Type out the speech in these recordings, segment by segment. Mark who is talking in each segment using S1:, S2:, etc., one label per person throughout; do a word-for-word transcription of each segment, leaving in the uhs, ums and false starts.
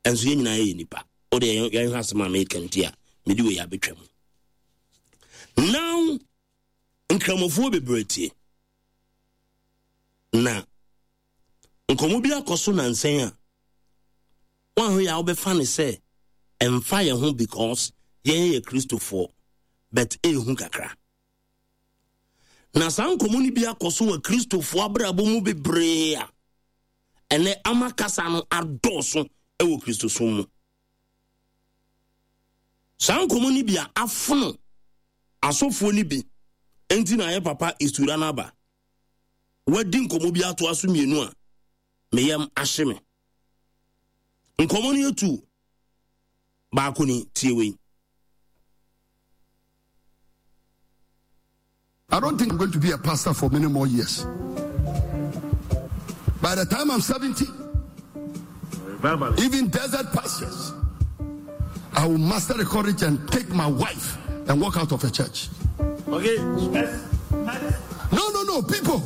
S1: Ɛnso yɛn nyinaa yɛ nipa. O de yɛn hwɛ asɛm a meka nti a mede wei abɛtwa mu. Now nkramofoɔ bebree tie. Na nkɔmmɔ bi akɔ so nansɛn a wɔahwɛ yɛ a wobɛfa ne sɛ ɛmfa yɛn ho because yɛn yɛ Kristofoɔ, but ɛɛhu kakra. Na saa nkɔmmɔ no bi akɔ so wɔ Kristofoɔ abrabɔ mu bebree a ɛnɛ ama kasa no adɔɔso ɛwɔ Kristosom mu. Saa nkɔmmɔ no bi a afono asɔfoɔ no bi enti na ayɛ papa isura no aba. Wadi nkɔmmɔ bi atoa so mmienu a meyam ahye me. Nkɔmmɔ no yɛ tu baako ni, tie wei.
S2: I don't think I'm going to be a pastor for many more years. By the time I'm seventy, even desert pastures, I will master the courage and take my wife and walk out of a church.
S1: Okay.
S2: No, no, no, people.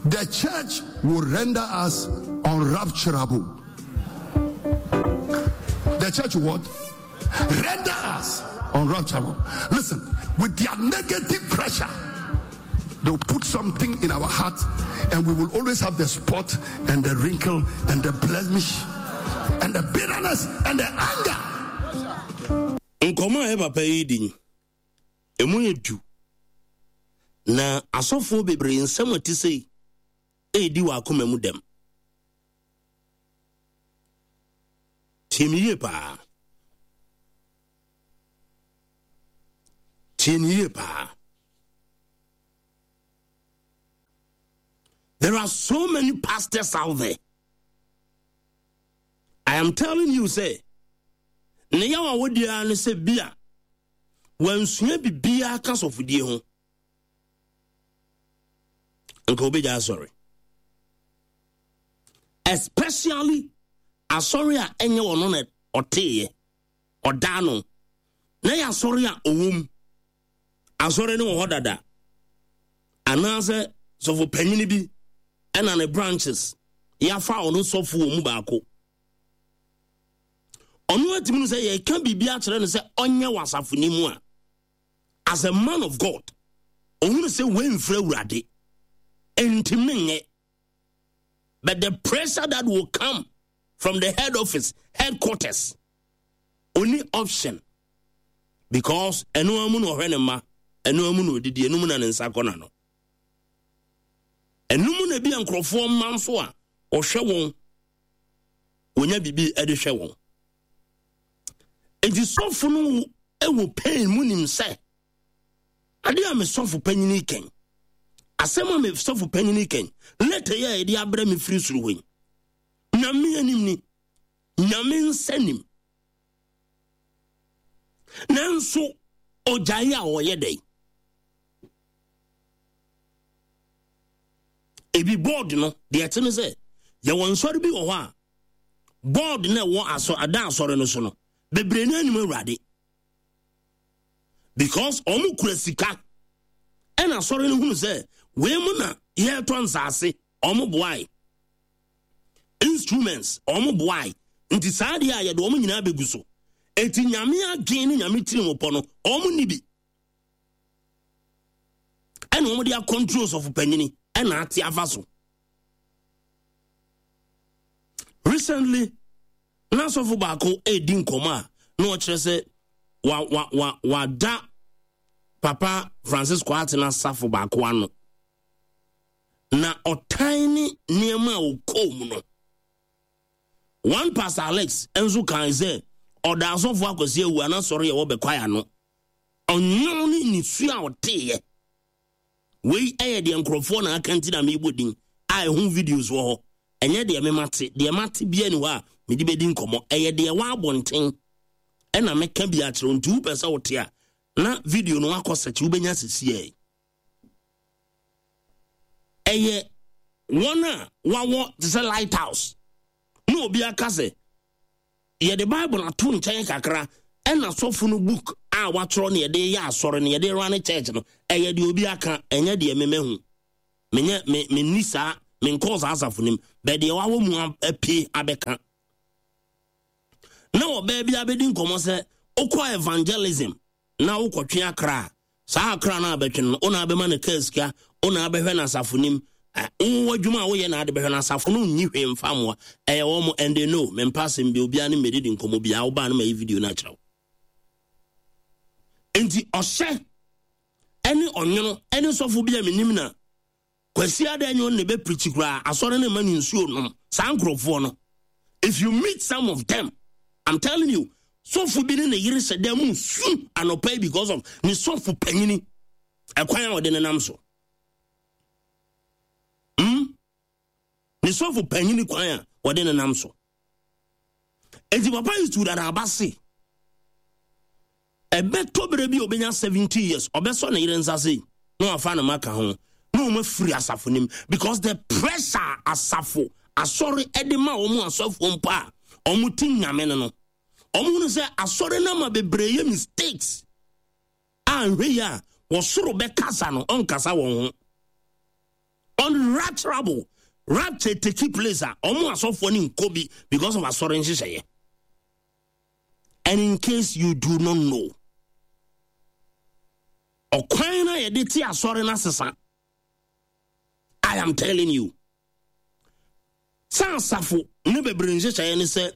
S2: The church will render us unrupturable. The church will what? Render us unrupturable. Listen, with their negative pressure, they'll put something in our heart, and we will always have the spot and the wrinkle and the blemish and the bitterness and the anger.
S1: Nkɔmɔ a papa yi di emu yɛ du na asɔfoɔ bebree nsɛm a ɛte sɛ edi wɔ akoma mu dɛm. Tie me yie paa. Tie me yie paa. There are so many pastors out there. I am telling you, say, ne yaw a wodi ara ne sɛ bi a wansua biribiara ka sɔfodie ho nka obɛgya asɔre, especially asɔre a ɛnyɛ ɔno na ɔteeɛ ɔdaa no na yɛ asɔre a ɔwɔ mu. Asɔre no wɔ hɔ dada anaasɛ sɔfo panyini bi ɛna ne branches yɛafa ɔno sɔfo wɔ mu baako. Ɔno atumi no sɛ yɛka biribi akyerɛ no sɛ ɔnyɛ wɔ asafo no mu a, as a man of God, ɔhunu sɛ wɔmfiri Awurade ntimi nyɛ. But the pressure that will come from the head office, headquarters, only option. Because ɛno amu na ɔhwɛ ne mma, ɛno amu na odidi, ɛno mu na ne nsa kɔ n'ano. Ɛno mu na bi a nkurɔfoɔ mma nso a ɔhwɛ wɔn, wɔnya biribi de hwɛ wɔn. Enti sɔfo no wɔ pain mu nim sɛ ade a me sɔfo panyini kɛn, asɛm a me sɔfo panyini kɛn, leta yi a yɛde abrɛ me firi soro hɔ yi, Nyame anim ni, Nyame nsa nim. Nanso ɔgyae a ɔyɛ dɛn? Ebi board no deɛ ɛte ne sɛ yɛwɔ nsɔre bi wɔ hɔ a board na ɛwɔ asɔ ada asɔre no so no bebree no anim Awurade because ɔmo kura sika ɛna asɔre no hunu sɛ wei mu na yɛretɔ nsaase, ɔmo boae instruments, ɔmo boae nti saa deɛ a yɛde ɔmo nyinaa bɛgu so. Eti Nyame adwen ne Nyame tiri mu pɔ no ɔmo ni bi ɛna ɔmo de akɔntrol sɔfo panyini ɛna ate afa so. Recently na sɔfo baako edi nkɔmɔ a na ɔkyerɛ sɛ wa wa wa wada Papa Francis Kwatena safo baako ano na ɔtan ne nneɛma a ɔkɔɔ mu no. One Pastor Alex nso kan sɛ ɔda asɔfo Akwasi awu anasɔre a ɛwɔ Bɛkwae ano ɔnwom ne nisuo a ɔteeɛ. Wei ɛyɛ deɛ nkurɔfoɔ na aka nti na meebɔ din a ɛho videos wɔ hɔ. Ɛnyɛ deɛ memate, deɛ mate bia ni hɔ a mede bɛdi nkɔmmɔ. Ɛyɛ deɛ wɔ abɔnten ɛna meka bi akyerɛ wo. Nti wopɛ sɛ wote a na video no wakɔ sɛkyi wobɛnya sisiɛ. Ɛyɛ wɔn a wawɔ te sɛ Lighthouse na obi aka sɛ yɛde Bible ato nkyɛn kakra ɛna sɔfo no book a watwerɛ no yɛde yɛ asɔre no yɛde run church no. Ɛyɛ deɛ obi aka, ɛnyɛ deɛ memɛhu. Menyɛ me menni saa, menkɔɔ saa asafo nim bɛ deɛ wawɔ mu apie abɛka. Na ɔbaa bi abɛdi nkɔmmɔ sɛ wokɔ evangelism na wokɔtwe akra a, saa akra no abɛtwe no, wona abɛma no kaa sika, wona abɛhwɛ no asafo nim, wowɔ adwuma a woyɛ na ade bɛhwɛ no, asafo no nyi hwee mfa mmoa. Ɛyɛ wɔ mo, and they know. Mempa asɛm bi, obiara ne mmɛdidi nkɔmmɔ biara, wobaa no ma yi video no akyerɛ wo. Enti ɔhyɛ ɛne ɔnwono ɛne sɔfo bi a menim na Kwasi ada nyɛ ɔno na ɛbɛpirikyi koraa, asɔre no ma no nsuo nom. Saa nkurɔfoɔ no, if you meet some of them, I'm telling you, sɔfo bi ne ne yere hyɛ dan mu su anɔpa yi because of ne sɔfo panyini ɛkwan a ɔde ne nam so, hmm? Ne sɔfo panyini kwan a ɔde ne nam so. Enti papa yi tu dada aba se ɛbɛtɔ berɛ bi a ɔbɛnya seventy years, ɔbɛsɔ ne yere nsa se na wafa ne ma ka ho na wɔn afiri asafo nim, because the pressure asafo asɔre ɛde ma wɔn asɔfoɔ mpo a wɔn ti Nyame no no wɔn hunu sɛ asɔre no ama bebree yɛ mistakes a, nhwɛ yi a wɔsoro bɛkasa no, ɔnkasa wɔn ho. Unrapturable rapture take place a, wɔn asɔfoɔ no nkɔ bi because of asɔre nhyehyɛeɛ. And in case you do not know, ɔkwan na yɛde te asɔre no asesa. I am telling you sɛ asafo ne bebree nhyehyɛeɛ ne sɛ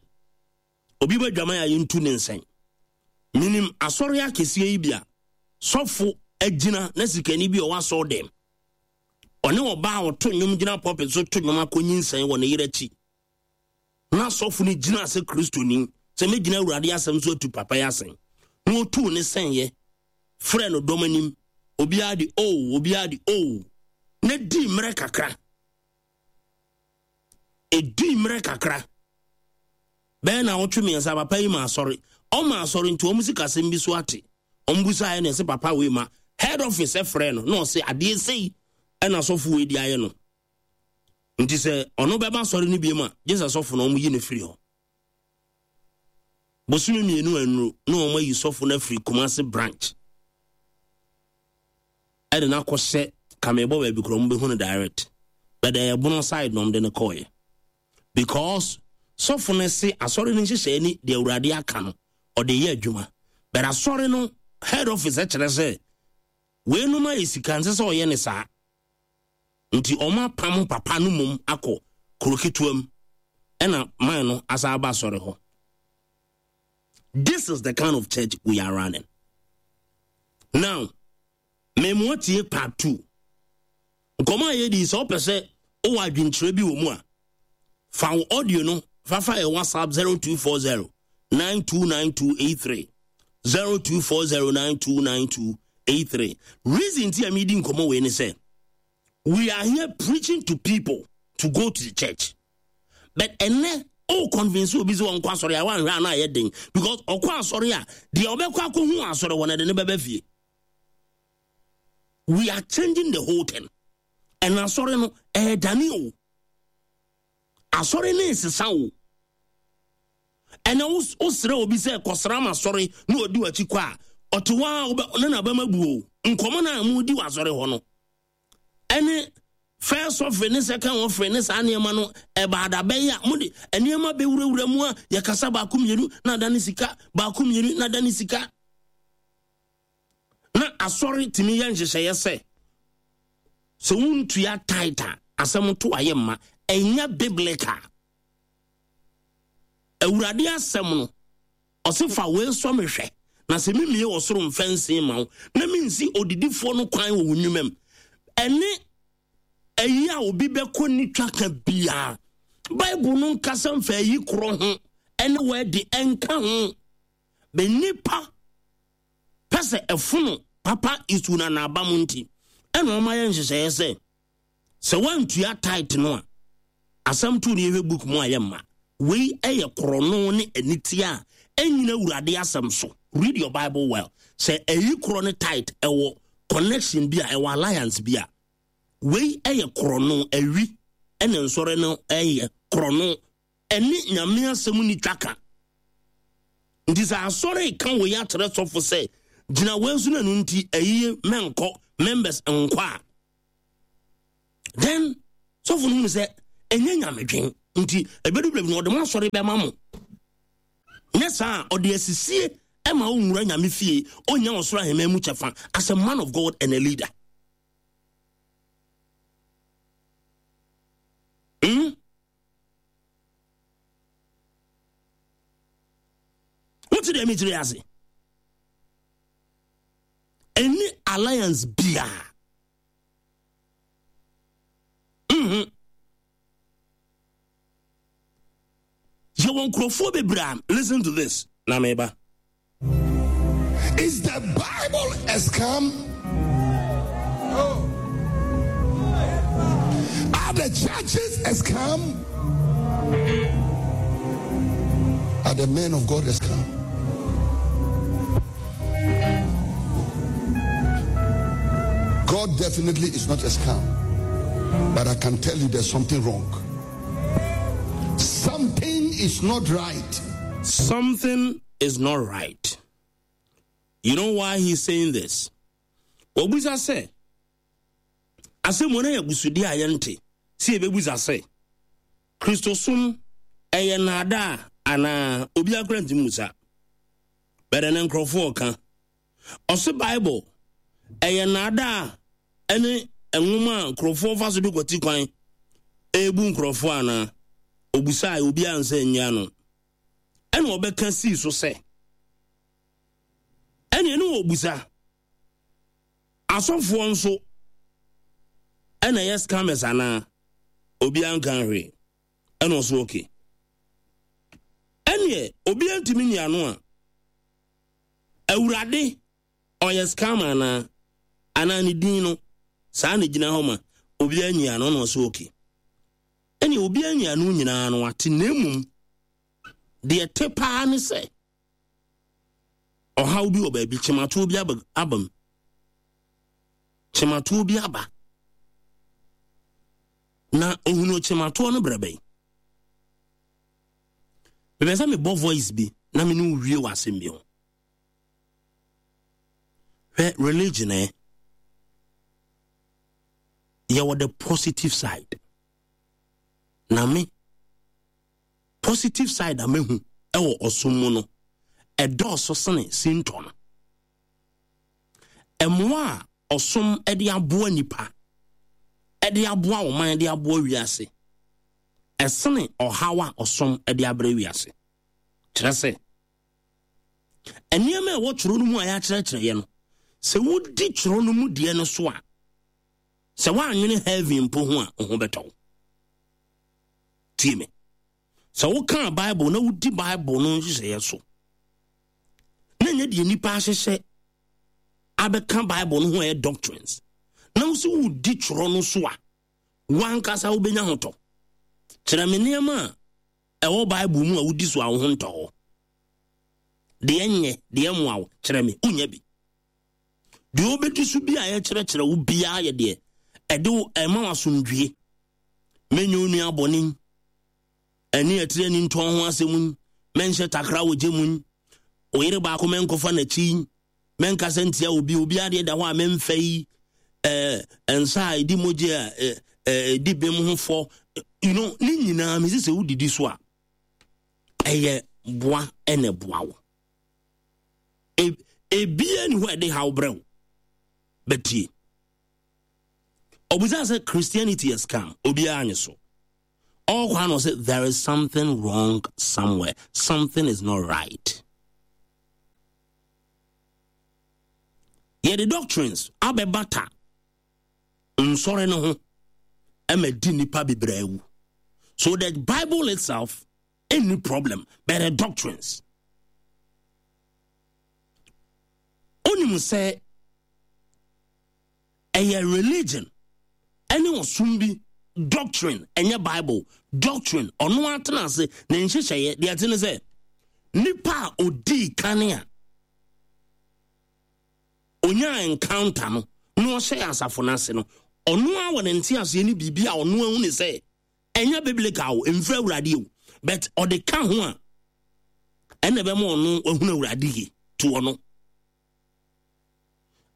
S1: obi bɛ dwaman a, yɛntu ne nsɛn. Menim asɔre akɛseɛ yi bi a sɔfo agyina na sikani bi a ɔwɔ asɔre dɛm, ɔne ɔbaa a ɔto nnwom gyina pulpit so to nnwom akɔnyi nsɛn wɔ ne yere akyi, na sɔfo no gyina sɛ Kristoni sɛ mɛgyina Awurade asɛm so atu papa yi asɛn, na ɔtuu ne sɛnyɛ frɛ no dɔm anim, obiara de o, obiara de o, na di mmerɛ kakra, ɛdi mmerɛ kakra bɛyɛ na wɔtwe mmiɛnsa, papa yi ma asɔre, ɔma asɔre nti wɔn sikasɛm bi so ate. Wɔn busa ayɛ na ɛsɛ papa wei ma head office ɛfrɛ no na ɔsɛ adeɛ sei ɛna asɔfo wei di ayɛ no, nti sɛ ɔno bɛba asɔre no biem a, gye sɛ sɔfo no wɔn yi no firi hɔ. Bosome mmienu anuru na wɔn ayi sɔfo no afiri Kumase branch ɛde no akɔhyɛ kamebɔ baabi korɔ, wɔn bɛhu no direct, but ɛyɛ Bono side na wɔn de no kɔɔyɛ, because sɔfo no se asɔre no nhyehyɛe ni, deɛ Awurade aka no ɔde yɛ adwuma, but asɔre no head office kyerɛ sɛ weinom ayɛ sika, nsɛ sɛ ɔyɛ ne saa, nti ɔmo apam papa no mom akɔ kuro ketewa mu, ɛna man no asa aba asɔre hɔ. This is the kind of church we are running now. Mmemoa tie part two nkɔmɔ a yɛdi. Sɛ wopɛ sɛ wowɔ adwenkyerɛ bi wɔ mu a, fa wo audio no fafa yɛ WhatsApp zero two four zero nine two nine two eight three, zero two four zero nine two nine two eight three. Reason ti a medi nkɔmɔ wei ne sɛ we are here preaching to people to go to the church, but ɛnɛ o convince obi sɛ wɔnkɔ asɔre a, wanhwɛ a na ayɛ den, because ɔkɔ asɔre a, deɛ ɔbɛkɔ akɔhu asɔre wɔ no de ne bɛbɛ fie. We are changing the whole thing, ɛna asɔre no ɛɛdane o, asɔre ne nsesa o. Ɛna wosrɛ obi sɛ kɔsra ma asɔre na ɔdi w'akyi kɔ a, ɔte hɔ a wobɛ ne nabɛma bu o. Nkɔmmɔ no a mudi wɔ asɔre hɔ no ɛne first offering ne second offering ne saa nneɛma no, ɛbaada bɛyɛ a mode nneɛma bɛwurawura mu a, yɛkasa baako mmienu na ada ne sika, baako mmienu na ada ne sika, na asɔre tumi yɛ nhyehyɛeɛ sɛ sɛ wontua tithe a, asɛm to ayɛ mma. Ɛnyɛ biblical. Awurade asɛm no ɔse fa wei sɔ me hwɛ, na sɛ memie wɔ soro mfɛnsee ma wo na mensi odidifoɔ no kwan wɔ wo nnwuma mu. Ɛne ayi a obi bɛkɔ ne twa ka biara, Bible no nkasa mfa ayi korɔ ho ɛne wɔadi ɛnka ho bɛ nipa pɛ sɛ ɛfono papa isu na n'aba mu, nti ɛna ɔma yɛ nhyehyɛeɛ sɛ sɛ woantua tithe no a, asɛm to ne yɛhwɛ book mu a yɛ mma wei ɛyɛ korɔno ne anitia a ɛnyina Awurade asɛm so. Read your Bible well. Sɛ ɛyi korɔ ne tithe ɛwɔ connection bi a, ɛwɔ alliance bi a, wei ɛyɛ korɔno awi ɛne nsɔre no ɛyɛ korɔno, ɛne Nyame asɛm ni twaka. Nti sɛ asɔre ka wei akyerɛ sɔfo sɛ gyina wei so no, ɛno nti ɛyie mɛnkɔ members nkɔ a, then sɔfo no hunu sɛ ɛnyɛ nyamedwen, nti ɛbɛdu baabi no ɔde mo asɔre bɛma mo. Nyɛ saa a, ɔde asisie ɛma wo nwura Nyame fie, ɔnya ɔsoro ahemman mu kyɛfa as a man of God and a leader. Hmm? Wote deɛ mekyerɛ ase? Ɛni alliance biara. Mm-hmm. Yɛwɔ nkurɔfoɔ bebree a, listen to this, na meba.
S2: Is the Bible a scam? Oh. Are the churches a scam? Are the men of God a scam? God definitely is not a scam. But I can tell you there's something wrong. Something is not right.
S1: Something is not right. You know why he's saying this? Obusa sɛ, asɛm wɔn ayɛ abusudi a yɛnte sɛ yɛbɛbusa sɛ, Kristosom ɛyɛ nnaadaa anaa? Obi akora ntumi musa. Bɛdɛ ne nkurɔfoɔ ɔka. Ɔse Bible ɛyɛ nnaadaa ɛne nwoma a nkurɔfoɔ fa so de kwati kwan ebu nkurɔfoɔ anaa? Obusa a obi ansa nyia no. Ɛna ɔbɛka sii so sɛ, ɛne ɛne wɔ busa asɔfoɔ nso ɛna ɛyɛ scammers anaa? Obi anka hwee. Ɛna ɔso okay. Ɛneɛ obi antumi nyi ano a, Awurade ɔyɛ scammer anaa? Anaa ne din no saa na gyina hɔ ma obi anyi ano? Na ɔso okay. Ɛneɛ obi anyi ano nyinaa no ate, na mmom deɛ te paa ne sɛ ɔhaw bi wɔ baabi, kyematoɔ bi aba, aba mu, kyematoɔ bi aba, na ohunu kyematoɔ no brɛ bɛn. Mepɛ sɛ mebɔ voice bi na me ne wo wie wɔ asɛm bi ho. Hwɛ, religion eh, yɛwɔ the positive side, na me positive side a mehu ɛwɔ ɔsom mu no ɛdɔɔso sene sintɔ no. Ɛmmoa a ɔsom ɛde aboa nipa, ɛde aboa ɔman, ɛde aboa wiase, ɛsene ɔhaw a ɔsom ɛde abrɛ wiase. Kyerɛ sɛ nneɛma a ɛwɔ twerɛ no mu a yɛakyerɛkyerɛ yɛ no, sɛ wodi twerɛ no mu deɛ no so a, sɛ woanwene heaven mpo ho a, wo ho bɛtɔ wo. Tie me, sɛ wokaa Bible na wodi Bible no nhyehyɛeɛ so, na ɛnyɛ deɛ nnipa ahyehyɛ abɛka Bible no ho a ɛyɛ doctrines, na wo sɛ wodi twerɛ no so a, wankasa wobɛnya ho tɔ. Kyerɛ me nneɛma a ɛwɔ Bible mu a wodi so a wo ho ntɔ hɔ. Deɛ nyɛ deɛ mmoa wo, kyerɛ me, wonya bi. Deɛ wobɛdi so bi a yɛkyerɛkyerɛ wo biara yɛ deɛ ɛde wo ɛma wo asomdwie. Menyɛ wo nua bɔne, ɛne atire ani ntɔn ho asɛm yi, mɛnhyɛ takra wɔ gye mu yi, wo yere baako mɛnkɔfa n'akyi yi, mɛnkasa ntia obi, obi adeɛ da hɔ a mɛmfa yi, ɛɛ nsa a ɛdi mogya a ɛɛ ɛdi bem ho fɔ, you know, ne nyinaa mesi sɛ wodidi so a, ɛyɛ boa ɛna boa wo. Ebia ni hɔ a ɛde haw brɛ wo. Bɛtie, ɔbusa sɛ Christianity is scam, obiara nye so. Ɔkɔ ano sɛ there is something wrong somewhere, something is not right. Yɛde doctrines abɛbata nsɔre no ho ɛma di nipa bebree awu. So the Bible itself any problem, but the doctrines. Onim sɛ ɛyɛ religion ɛne ɔsom bi doctrine, ɛnyɛ Bible doctrine. Ɔno atena ase ne nhyehyɛeɛ deɛ ɛte ne sɛ nipa a odii kane a onyaa encounter no na ɔhyɛ asafo no ase no, ɔno a wɔ ne nte aseɛ ne biribi a ɔno ahu ne sɛ ɛnyɛ biblical o, mfiri Awurade o, but ɔde ka ho a ɛna ɛbɛma ɔno ahunu Awurade yie to ɔno.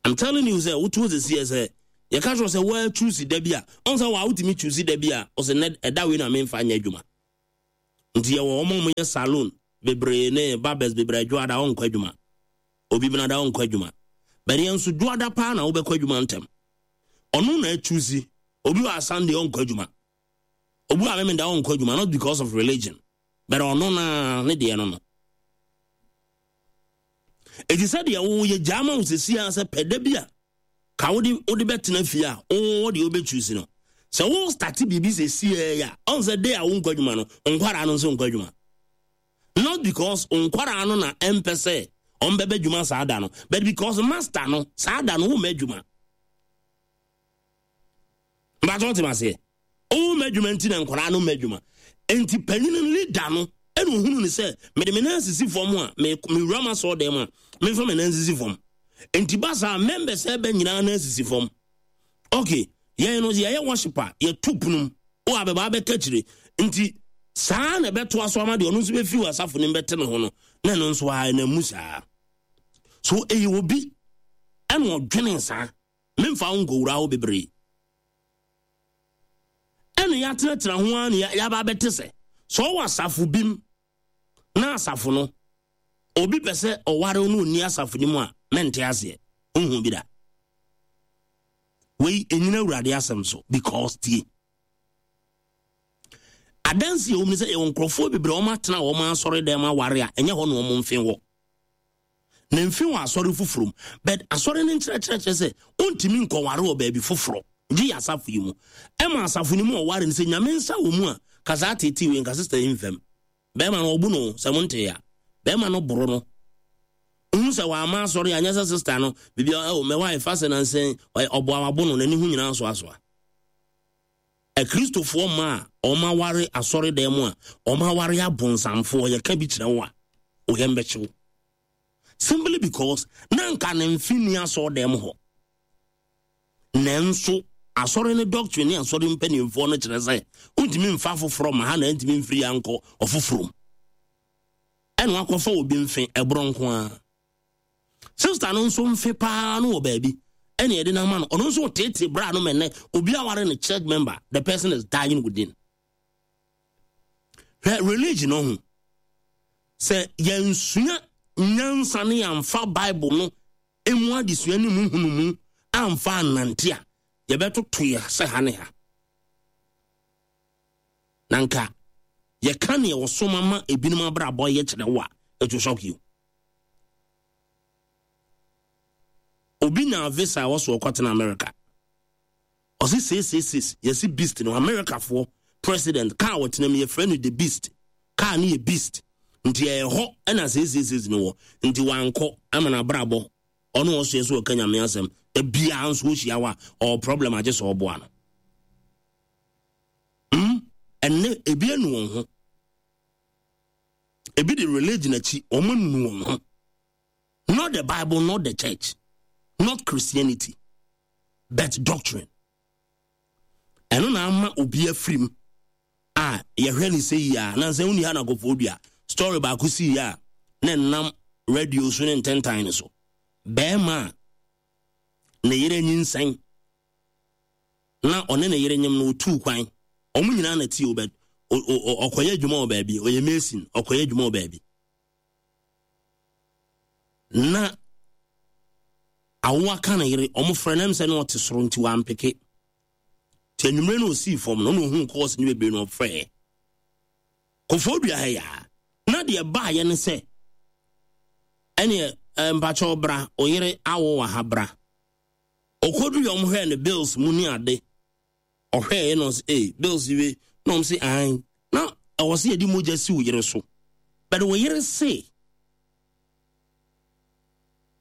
S1: I'm telling you sɛ wotu sisi yɛ sɛ yɛka kyerɛ sɛ wɔa choose da bi a ɔn sɛ wɔa wotumi choose da bi a ɔsɛ nɛ ɛda wei na memfa nyɛ adwuma. Nti yɛwɔ wɔn a wɔyɛ salon bebree ne barbers bebree, Dwoada ɔnkɔ adwuma, obi benada ɔnkɔ adwuma, but yɛn nso Dwoada paa na wobɛkɔ adwuma ntɛm. Ɔno na atusi. Obi wɔ Sunday ɔnkɔ adwuma, obi wɔ Amemenda ɔnkɔ adwuma, not because of religion, but ɔno na ne deɛ no no Eti sɛ deɛ woyɛ gyaa ma wo sɛsi a, sɛ pɛ da bi a ka wode wode bɛtena fie a, wowɔ deɛ wobɛtusi no sɛ wo start biribi sɛsi a, ɔn sɛ day a wonkɔ adwuma no, nkwaraa no nso nkɔ adwuma, not because nkwaraa no na ɛmpɛ sɛ ɔmbɛbɛ adwuma saa da no, but because master no saa da no womma adwuma. Mbatɔ wotem aseɛ, womma adwuma nti na nkwaraa no mma adwuma. Nti panyin leader no ɛna ohunu ne sɛ mede me nan sisi fam a, mewura ma sɔɔ dɛm a, memfa me nan sisi fam. Nti ba saa, members ɛbɛ nyinaa nan sisi fam. Okay, yɛn no yɛyɛ worship a, yɛtu punum wo abɛba abɛka kyire. Nti saa na ɛbɛtoa so ama deɛ ɔno nso bɛfiri wɔ asafo no bɛte ne ho no, na ɛno nso a ɛnam mu saa. So ɛyɛ obi ɛna ɔdwene saa. Memfa wo nkɔwura hɔ bebree. Ɛna yɛatenatena ho ara ne yɛaba abɛte sɛ sɛ ɔwɔ asafo bi mu na asafo no obi pɛ sɛ ɔware no, ɔnni asafo no mu a, mente aseɛ, wohu bi da. Wei ɛnyina Awurade asɛm so, because tie, adansi a ɛwɔ mu ne sɛ yɛwɔ nkurɔfoɔ bebree a wɔn atena wɔn asɔre dɛm aware a ɛnyɛ hɔ na wɔn mfe wɔ na mfe wɔ asɔre foforɔ mu, but asɔre no nkyerɛkyerɛ kyerɛ sɛ ɔntumi nkɔware wɔ baabi foforɔ gye yɛ asafo yi mu. Ɛma asafo no mu ɔware no sɛ Nyame nsa wɔ mu a, kasa atete wei nka sister yi mfam. Bɛrima no ɔbu no sɛ monte a, bɛrima no boro no wohu sɛ wama asɔre anyɛ sɛ sister no biribi ɛwɔ mɛwa ɛfa sɛ nansɛn ɔboa wabo no n'ani ho nyinaa soasoa. Akristofoɔ ma a ɔma ware asɔre dan mu a, ɔma ware abonsamfoɔ, yɛka bi kyerɛ wo a, woyɛ mbɛkyew, simply because na nka ne mfe ni asɔre dan mu hɔ. Nanso asɔre ne doctrine ne asɔre mpanimfoɔ no kyerɛ sɛ wontumi mfa foforɔ ma ha na ntumi mfiri ya nkɔ ɔfoforɔ mu, ɛna wakɔfa obi mfe ɛborɔ nko ara. Sister no nso mfe paa no wɔ baabi ɛna yɛde no ama no, ɔno nso tete bra no mɛnɛ obi aware ne church member. The person is dying within. Hwɛ, religion no ho sɛ yɛnsua nyansa ne yɛmfa Bible no emu adesua ne mu hunumu amfa anante a, yɛbɛtoto yɛ sɛ ha ne ha. Na nka yɛka neɛ wɔsom ama ebinom abrabɔ yɛ kyerɛ wo a, it will shock you. Obi na visa a wɔso ɔkɔtena America, ɔsi six six six, yɛsi beast no. Americafoɔ president car wɔtena mu yɛfrɛ no the Beast. Car no yɛ beast, nti ɛyɛ hɔ ɛna six six six no wɔ. Nti wankɔ ama n'abrabɔ. Ɔno ɔso yɛ so ɔka Nyame asɛm da biara nso ɔhyia hɔ a, ɔwɔ problem agye sɛ ɔboa no. mm ɛnɛ ebi anu wɔn ho, ebi de religion akyi, wɔn anu wɔn ho, not the Bible, not the church, not Christianity, but doctrine. Ɛno na ama obi afiri mu a yɛhwɛ ne sɛ yie a nansɛ woni ha na akɔfoɔ dua story baako sii yie a na nam radio so ne ntentan no so. Bɛrima a ne yere nyinsɛn na ɔne ne yere nyim no, otuu kwan. Ɔmo nyinaa na tie o, bɛ ɔkɔyɛ adwuma wɔ baabi, ɔyɛ mason, ɔkɔyɛ adwuma wɔ baabi na awoa ka ne yere. Ɔmo frɛ nam sɛ na ɔte soro nti wampeke. Nti anwummerɛ no ɔsii fam no, ɔna ohuu calls ne bebree na ɔfrɛɛ kɔfoɔ dua ha yaa. Na deɛ baayɛ ne sɛ ɛneɛ mpakyɛw bra, ɔyere awo wɔ ha, bra. Ɔkɔdu yɛ, ɔmo hwɛɛ ne bills mu ne ade. Ɔhwɛɛ no ɔsɛ ee bills yi na ɔmo sɛ ahan na ɛwɔ sɛ yɛde mogya si wo yere so, but wo yere se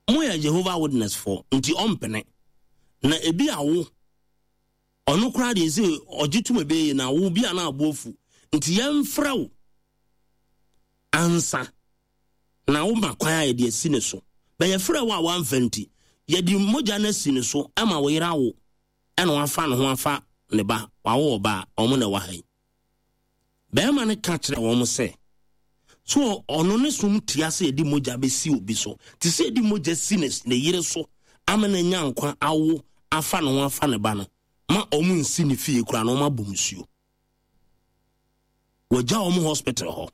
S1: moyɛ Jehovah Witness foɔ nti ɔmpene. Na ebi awo ɔno koraa deɛ sɛ ɔgye tum ebɛyɛ na awo bi a na abo afu, nti yɛmfrɛ wo ansa na woma kwan a yɛde asi ne so. Bɛyɛfrɛ wo a wamfa, nti yɛde mogya no asi ne so ama wo yere awo, ɛna wafa ne ho afa ne ba, wawo ɔba a ɔmo na ɛwɔ ha yi. Bɛrima no ka kyerɛ wɔn sɛ so ɔno ne som tia sɛ yɛde mogya bɛsi obi so, te sɛ yɛde mogya si ne ne yere so ama no anya nkwa awo afa ne ho afa ne ba no, ma ɔmo nsi ne fie koraa na ɔmo abɔ nsuo. Wɔgya ɔmo hospital hɔ.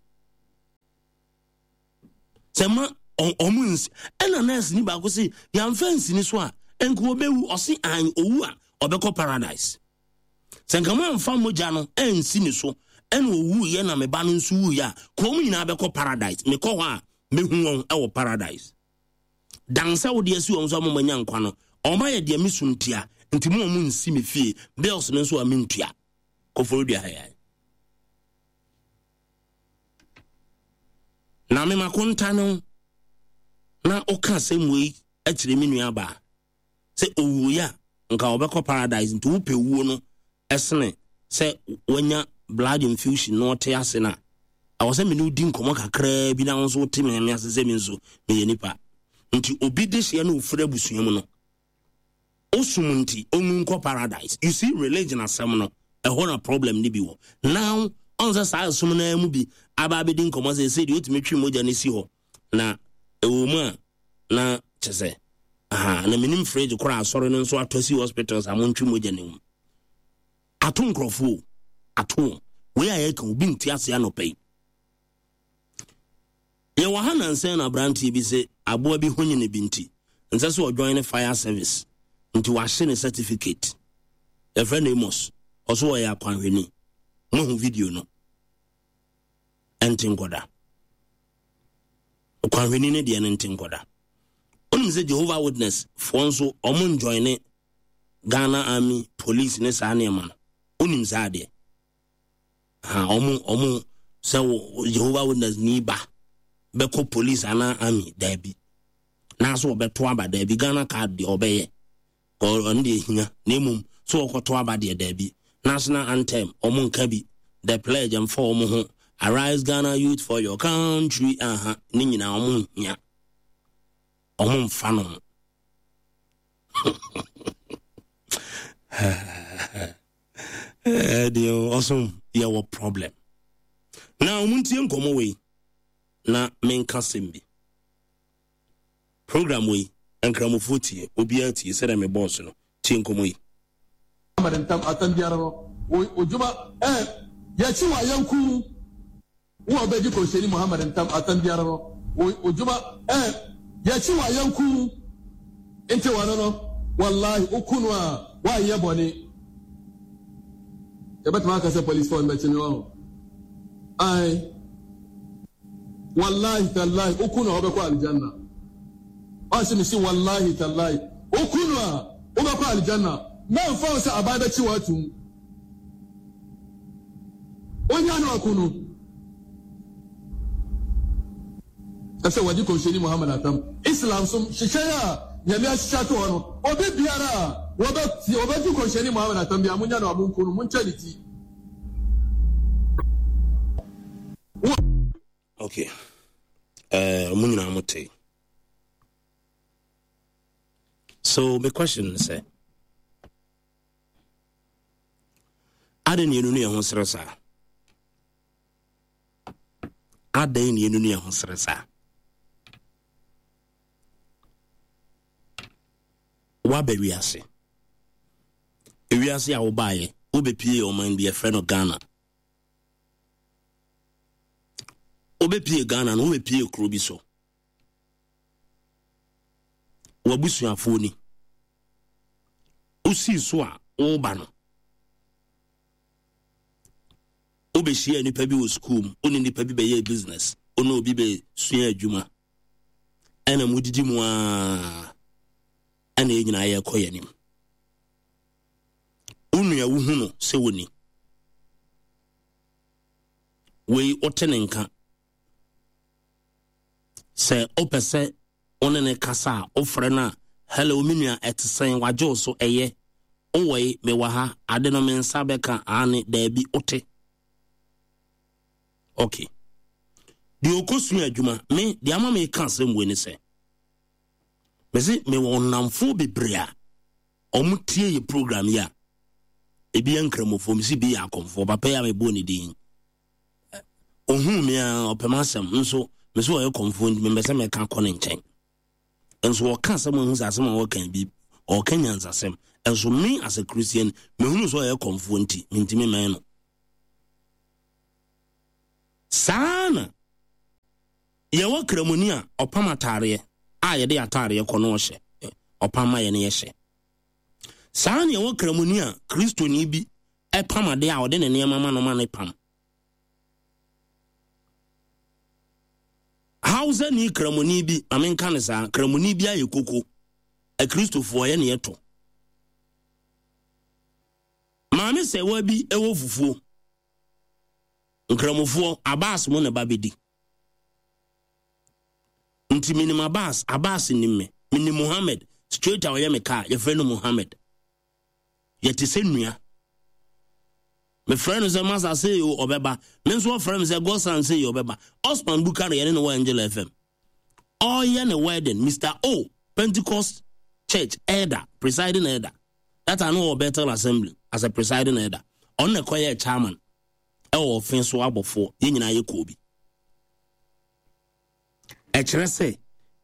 S1: Sɛ ma ɔmo nsi ɛna nurse ni baako se yɛamfa nsini so a nka ɔbɛwu. Ɔse an owu a ɔbɛkɔ paradise. Sɛ nka mo amfa mogya no ansi ne so ɛna owu yɛ na me ba no nso wu yɛ a, ka ɔmo nyinaa bɛkɔ paradise. Mekɔ hɔ a mehu wɔn ɛwɔ paradise. Dan sɛ wode asi wɔn so ama manya nkwa no, ɔma yɛ deɛ mesu ntia nti mo ɔmo nsi me fie bills no nso a mentua. Kɔfɔrɔ dua ha yɛ na mema konta no na ɔka asɛm wei akyerɛ me nua baa sɛ owuo a nka ɔbɛkɔ paradise. Nti wopɛ wuo no ɛsene sɛ wanya blood infusion na ɔte ase no a, ɛwɔ sɛ mene wodi nkɔmmɔ kakraa bi na wo nso wote me me ase sɛ me nso meyɛ nipa. Nti obi de hyeɛ na ofiri abusua mu no osum nti ɔnwu nkɔ paradise. You see, religion asɛm no ɛhɔ na problem ne bi wɔ. Now ɔn sɛ saa ɛsom no mu bi aba abɛdi nkɔmmɔ sɛ sɛ deɛ ɔtumi twe mogya no si hɔ na ɛwɔ mu a na kyɛ sɛ aha na menim fridge koraa. Asɔre no nso atɔ si hospitals a montwe mogya no mu ato nkurɔfoɔ ato wɔn. Wei a yɛka obi nte ase. Anɔpa yi yɛwɔ ha nansɛn na aberanteɛ bi sɛ aboa bi ho nyine bi nti nsɛ sɛ ɔjoin ne fire service nti wahye ne certificate. Yɛfrɛ no Amos, ɔso ɔyɛ akwanhwɛni. Moahu video no ɛnte nkɔda ɔkwanhwɛni no deɛ no nte nkɔda. Wonim sɛ Jehovah Witness foɔ nso ɔmo njoin ne Ghana Army, police ne saa nneɛma no. Wonim saa adeɛ ha, ɔmo ɔmo sɛ Jehovah Witness ni ba bɛkɔ police anaa army, daabi. Nanso ɔbɛto aba, daabi. Ghana card deɛ ɔbɛyɛ, ɔno deɛ hia, na mmom so ɔkɔto aba deɛ, daabi. National anthem ɔmo nka bi, the pledge mfa ɔmo ho, "Arise Ghana youth for your country" aha ne nyinaa ɔmo nhia, ɔmo mfa no ho. Deɛ ɔsom yɛwɔ problem na ɔmo ntie nkɔmmɔ wei na menka sɛm bi. Program wei nkramofoɔ tie, obiara tie sɛdeɛ me bɔɔso no tie nkɔmmɔ yi.
S2: Ntam atam biara no odwuma ɛ yɛkyi wɔ ayɛnku wo a ɔbɛdi Kɔnhyɛni Muhammad ntam atam biara no odwuma ɛ yɛkyi wɔ ayɛnku nti wɔno no wallahi woku no a woanyɛ bɔne. Yɛbɛtumi aka sɛ policefoɔ no bɛkye me wɔ ai. Wallahi tallahi, woku no a wobɛkɔ aljanna. Ɔse me si wallahi tallahi, woku no a wobɛkɔ aljanna. Mɛmfa wo sɛ aban bɛkye wɔ atum onya no aku no ɛsɛ wɔde Kɔnhyɛni Muhammad atam. Islam so hyehyɛ a Nyame ahyehyɛ ato hɔ no, obi biara a wɔbɛdi Kɔnhyɛni Muhammad atam bi a monya no a monku no, monkyɛ ne ti.
S1: Okay, uh, mo nyinaa mo te. So my question sɛ adɛn ne yɛnu ne yɛn ho serɛ saa? Adɛn ne yɛnu ne yɛn ho serɛ saa? Woaba wiase, ewiase a wobaeɛ wobɛpie ɔman bi yɛfrɛ no Ghana. Wobɛpie Ghana no, wobɛpie kuro bi so, w'abusuafoɔ ni wosii so a woba no, wobɛhyia nnipa bi wɔ sukuu mu, wone nnipa bi bɛyɛ business, wone obi bɛsua adwuma, ɛna modidi mu a ɛna yɛ nyinaa yɛkɔ yɛ anim. Wo nua wohu no sɛ woni wei, wote ne nka sɛ wopɛ sɛ wo ne ne kasa a, wofrɛ no a, "Hello me nua, ɛte sɛn? Wagye wo so ɛyɛ wowɔ yi, mewɔ ha, ade no me nsa bɛka ane daabi." Wote okay. Deɛ ɔkɔsua adwuma me deɛ ama meka asɛm wei ne sɛ mese mewɔ nnamfoɔ bebree a ɔmo tie yɛ program yi a ebi yɛ nkramofoɔ, mesi bi yɛ akɔmfoɔ. Papa yi a mebɔɔ ne din, ohuu me a ɔpɛ m'asɛm nso mese ɔyɛ kɔmfoɔ nti mempɛ sɛ mɛka kɔ ne nkyɛn. Nso ɔka asɛm a ɛhu sɛ asɛm a ɔka bi ɔka nyansasɛm. Nso me as a Christian mehunu sɛ ɔyɛ kɔmfoɔ nti mentimi mɛn no saa na Yɛwɔ kramoni a ɔpam ataareɛ a yɛde ataareɛ kɔ no ɔhyɛ, ɔpam ma yɛne yɛhyɛ. Saa ne yɛwɔ kramoni a Kristoni bi ɛpam adeɛ a ɔde ne nneɛma ma no ma ne pam. Hausa ni kramoni bi, amenka ne saa, kramoni bi ayɛ koko, akristofoɔ yɛ ne yɛtɔ. Maame sɛwa bi ɛwɔ fufuo, nkramofoɔ Abbas mu ne ba bɛdi. Nti minim Abbas, Abbas nim me. Minim Muhammad, straight a ɔyɛ me kaa, yɛfrɛ no Muhammad. Yɛte sɛ nua. Mefrɛ no sɛ Masa sɛ yo ɔbɛba. Me nso ɔfrɛ me sɛ Godson sɛ yo ɔbɛba. Osman Bukari yɛne no wɔ Angel F M. Ɔyɛ ne wedding, Mister O, Pentecost Church elder, presiding elder. That I know Bethel Assembly as a presiding elder. Ɔno na ɛkɔyɛ chairman. Ɛwɔ ɔfe so abɔfoɔ, yɛn nyinaa yɛ kɔɔ bi. Ɛkyerɛ sɛ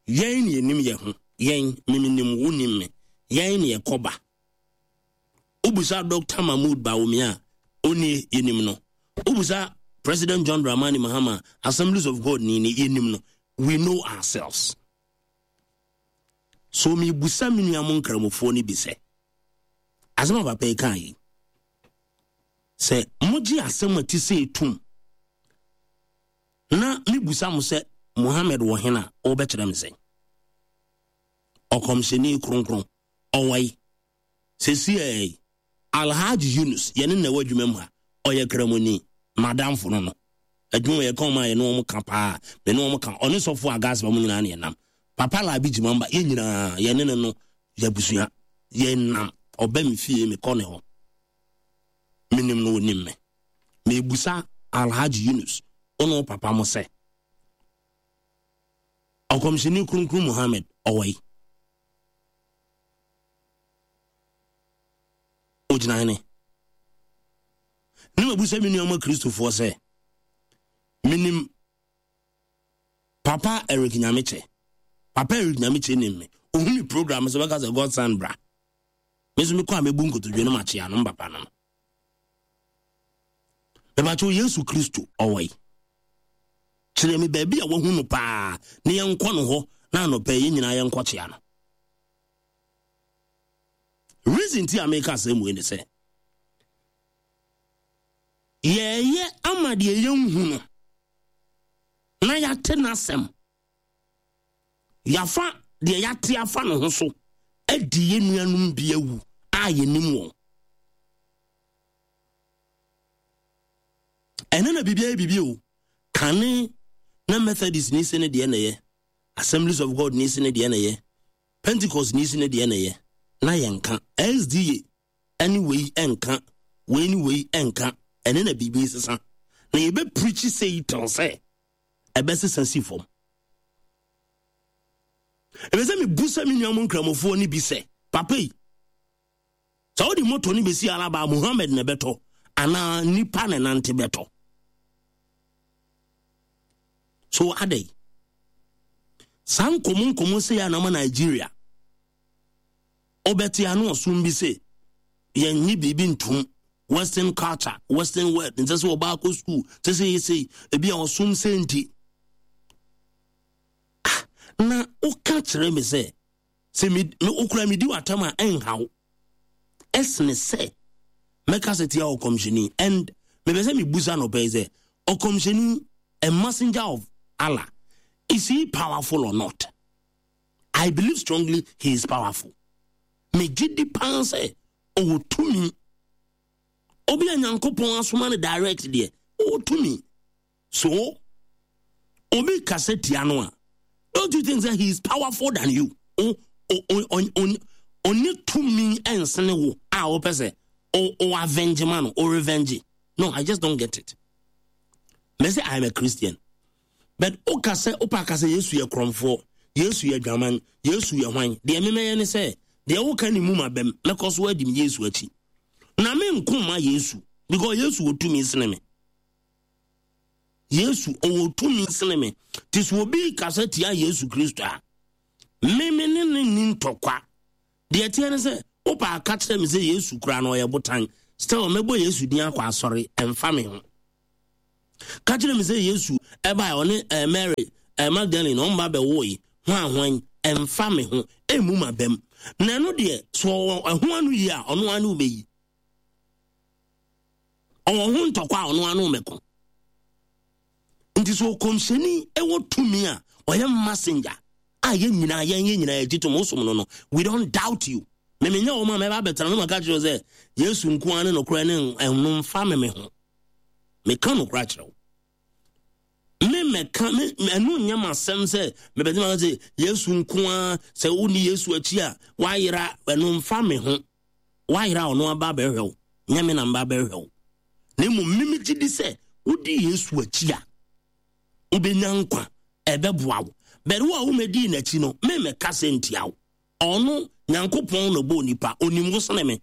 S1: yɛn ne yɛnim yɛn ho, yɛn memenim wo nim me, yɛn ne yɛkɔba. Wobusa Doctor Mahmoud Bawumia, oni yɛnim no. Wobusa President John Dramani Mahama, Assemblies of God ni ni yɛnim no. We know ourselves. So me busa me nua mo nkramofoɔ ni bi sɛ, asɛm a papa yi kaa yi, sɛ mogye asɛm a ti sɛ etum, na me busa mo sɛ Muhammad wɔ hena, ɔbɛkyerɛ me sɛ ɔkɔmhyɛni kronkron ɔwɔ yi. Sɛsi ɛ Alhaji Yunus yɛne na ɛwɔ adwuma mu ha, ɔyɛ kramoni, madamfo no no. Adwuma yɛ kɔn ma yɛne wɔn ka paa, me ne wɔn ka, ɔne sɔfo agas ba mu nyinaa ne yɛnam. Papa Labi Jimamba, yɛn nyinaa yɛne ne no yɛabusua, yɛnam. Ɔbɛ me fie, mekɔ ne hɔ. Menim no, onim me. Mebusa Alhaji Yunus, ɔno papa mo sɛ ɔkɔmhyɛni kronkron Muhammad ɔwɔ yi. Ogyina hene. Ne mabusa me nuanom Kristofoɔ sɛ, menim Papa Eric Nyamekyɛ. Papa Eric Nyamekyɛ nim me. Ohu me program sɛ bɛka sɛ Godson bra. Me nso mekɔ a mebu nkotodwe no makyea no mbapa no. Mebakyɛw Yesu Kristo ɔwɔ yi. Kyerɛ me baabi a wahu no paa na yɛnkɔ no hɔ na anɔpɛ yɛn nyinaa yɛnkɔ kyea no. Reason ti a meka asɛm wei ne sɛ, yɛyɛ ama deɛ yɛnhu no na yɛate n'asɛm. Yɛafa deɛ yɛate afa ne ho so adi yɛn nuanom bi awu a yɛnim wɔn. Ɛno na biribiara yɛ biribi o. Kane na Methodist ni se ne deɛ na yɛ, Assemblies of God ni se ne deɛ na yɛ, Pentecost ni se ne deɛ na yɛ, na yɛnka S D A ɛne wei ɛnka, wei ne wei ɛnka. Ɛno na biribi sesa. Na yɛbɛ preach sɛ yi tɛn sɛ ɛbɛsesa si fam. Ɛbɛ sɛ mebu sɛ me nuanom nkramofoɔ ne bi sɛ, papa yi, sɛ wode moto ne bɛsi alaba, Muhammad na ɛbɛtɔ, anaa nipa na nante bɛtɔ. So adɛn? Saa nkɔmmɔ nkɔmmɔ sɛ yɛ anama Nigeria. Ɔbɛte ano ɔsom bi sɛ, yɛnnye biribi ntom. Western culture, Western world, nsɛ sɛ ɔbaa kɔ school, sɛ sɛ yɛsei, ebi a ɔsom sɛ nti. Ah, na woka kyerɛ me sɛ, sɛ me, me okura me di w'atam a ɛnhaw. Ɛsene sɛ mɛka sɛ tia ɔkɔmhyɛni. And mepɛ sɛ mebusa no pɛi sɛ, ɔkɔmhyɛni, a messenger of Allah, is he powerful or not? I believe strongly he is powerful. Me gye di paa sɛ ɔwɔ tumi. Obi a Nyankopɔn asoma no direct deɛ, ɔwɔ tumi. So, obi kasa tia no a, don't you think that he is powerful than you? O, o, o, o, o, ɔne tumi ɛnsene wo a wopɛ sɛ o, o avenge ma no, o revenge. No, I just don't get it. Me say I am a Christian. But o kasa, o pa kasa Yesu yɛ krɔmfoɔ, Yesu yɛ dwaman, Yesu yɛ hwan. Deɛ memɛyɛ ne sɛ, deɛ woka ne mu ma bɛm, mɛkɔ so adi me Yesu akyi. Na me nko ma Yesu, because Yesu wɔ tumi sene me. Yesu ɔwɔ tumi sene me. Te sɛ obi kasa tia Yesu Kristo a, me me ne ne ni ntɔkwa. Deɛ teɛ ne sɛ, wopa aka kyerɛ me sɛ Yesu koraa na ɔyɛ botan. Still, mɛbɔ Yesu din akɔ asɔre, ɛmfa me ho. Ka kyerɛ me sɛ Yesu ɛbae, ɔne, eh, Mary, eh, Magdalene ɔmba bɛwoe hwan hwan, ɛmfa me ho, ɛmmu ma bɛm. Na ɛno deɛ, so ɔwɔ ɛho ano yie a, ɔno ano wobɛyi. Ɔwɔ ho ntɔkwa a, ɔno ano mɛko. Nti sɛ ɔkɔmhyɛni ɛwɔ tumi a ɔyɛ messenger a, yɛn nyinaa yɛn yɛn nyinaa yɛgye tom, wosom no no we don't doubt you. Memenyɛ wɔn a mɛba abɛtena no maka kyerɛ sɛ Yesu nko ara ne nokorɛ ne ɛno mfa me me ho. Meka nokorɛ akyerɛ wo, me mɛka me ɛno nyɛ m'asɛm sɛ mebɛtumi aka sɛ Yesu nko ara, sɛ wonni Yesu akyi a woayera. Ɛno mfa me ho. Woayera a, ɔno aba abɛhwɛ wo, nyɛ me na mba abɛhwɛ wo. Na mmom meme gye di sɛ wodi Yesu akyi a, wobɛnya nkwa, ɛbɛboa wo. Bɛre wo a womɛdii n'akyi no, memɛka sɛ ntia wo. Ɔno Nyankopɔn na ɔbɔɔ nipa, onim wo sene me.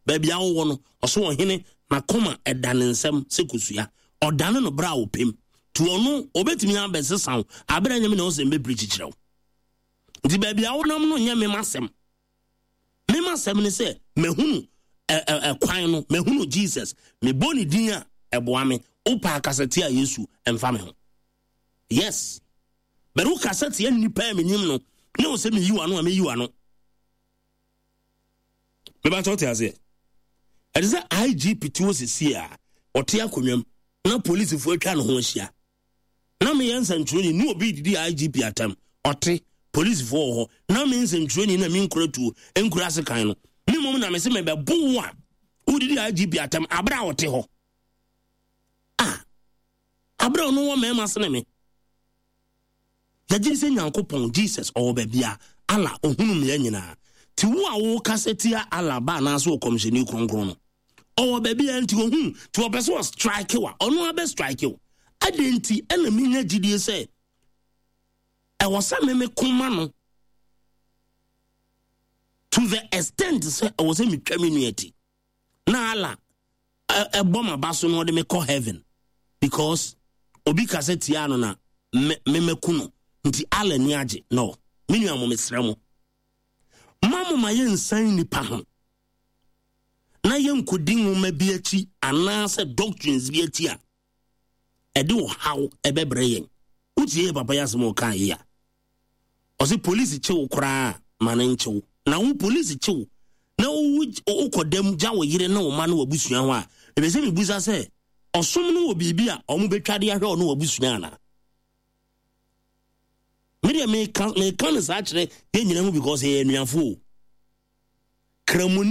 S1: Baabi a wowɔ no, ɔso ɔhene n'akoma ɛda ne nsɛm sɛ kosua, ɔdane no berɛ a wɔpem. Nti ɔno ɔbɛtumi abɛsesa wo aberɛ nyɛ me na ɔsɛ mbɛpiri kyikyerɛ wo. Nti baabi a wonam no nyɛ mem asɛm. Mem asɛm ne sɛ mahunu ɛkwan no, mahunu Jesus, mebɔ ne din a ɛboa me. Wopɛ akasa tia Yesu, ɛmfa me ho. Yes, bɛrɛ wokasa tia nnipa a menim no ne wo sɛ meyi w'ano a, meyi w'ano. Mebakyɛ wote aseɛ, ɛte sɛ I G P te hɔ sesie a ɔte akonnwam na polisifoɔ atwa ne ho ahyia na meyɛ nsɛntwerɛni ne obi didi I G P atam. Ɔte polisifoɔ wɔ hɔ na me nsɛntwerɛni na menkura tuo nkura asekan no, me mmom na mese mebɛbo wo a wodidi I G P atam aberɛ a ɔte hɔ a, aberɛ a ɔno wɔ mmarima sene me. Yɛgye sɛ Nyankopɔn Jesus ɔwɔ baabi a Allah ɔhunu mmea nyinaa. Nti wo a wokasa tia Allah ba anaasɛ ɔkɔmhyɛni kronkron no, ɔwɔ baabi a nti ɔhu. Nti ɔpɛ sɛ ɔstrike wa, ɔno abɛ strike wo. Adɛn nti ɛna menya gyidie sɛ ɛwɔ sɛ meme koma no to the extent sɛ ɛwɔ sɛ metwa me nua ti na Allah ɛbɔ m'aba so na ɔde me kɔ heaven because obi kasa tia no na memɛku no, nti Allah ni agye no? Me nua mo, mesrɛ mo, ma mo ma yɛnsan nipa ho na yɛnkɔdi nwoma bi akyi anaasɛ doctrines bi akyi a ɛde ɔhaw ɛbɛbrɛ yɛn. Wotie yɛ papa yɛ asɛm a ɔkaa yi a, ɔsɛ polisi kyew koraa ma ne nkyew. Na wo polisi kyew na wokɔ dam gya wo yere ne wo ma ne w'abusua hɔ a, ɛbɛ sɛ mebusa sɛ ɔsom no wɔ biribi a ɔmo bɛtwa de ahwɛ ɔno w'abusua anaa? Medeɛ meka meka no saa kyerɛ yɛn nyina ho because yɛyɛ anuafo o. Kramoni.